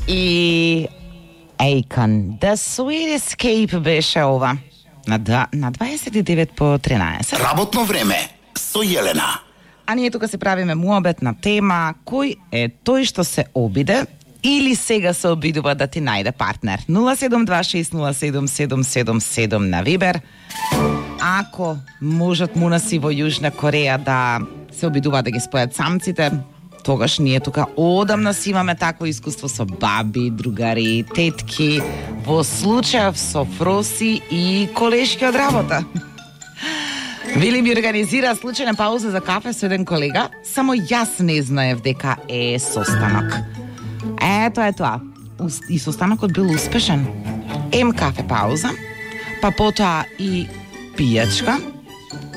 И Akon, The Sweet Escape беше ова. На 29 по 13. Работно време со Јелена. А ние тука се правиме муабет на тема кој е тој што се обиде или сега се обидува да ти најде партнер. 072607777 на Вибер. Ако можат мунаси во Јужна Кореја да се обидува да ги спојат самците, тогаш ние тука одамна си имаме такво искуство со баби, другари, тетки, во случајов со фроси и колешки од работа. Вили ми организира случајна пауза за кафе со еден колега, само јас не знаев дека е состанок. Ето е тоа. И состанокот бил успешен. Кафе пауза, па потоа и пијачка,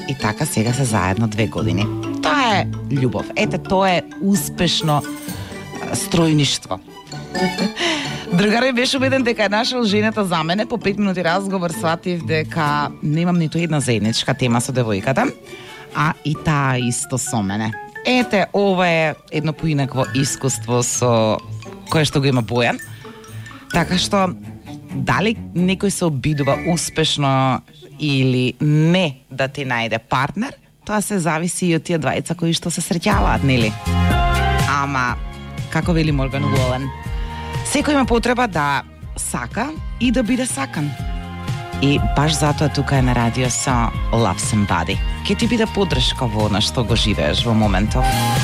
и така сега се заедно 2 години. Тоа е љубов. Ете, тоа е успешно стројништво. Другари беше убеден дека е нашол жената за мене. По 5 минути разговор сватив дека немам ниту една заедничка тема со девојката, а и таа исто со мене. Ете, ова е едно поинакво искуство со кое што го има Бојан. Така што, дали некој се обидува успешно или не да ти најде партнер, тоа се зависи и од тие двајца кои што се среќаваат, нели? Ама, како вели Морган Уолен, секој има потреба да сака и да биде сакан. И баш затоа тука е на радио со Love Somebody. Ке ти биде поддршка во она што го живееш во моментов.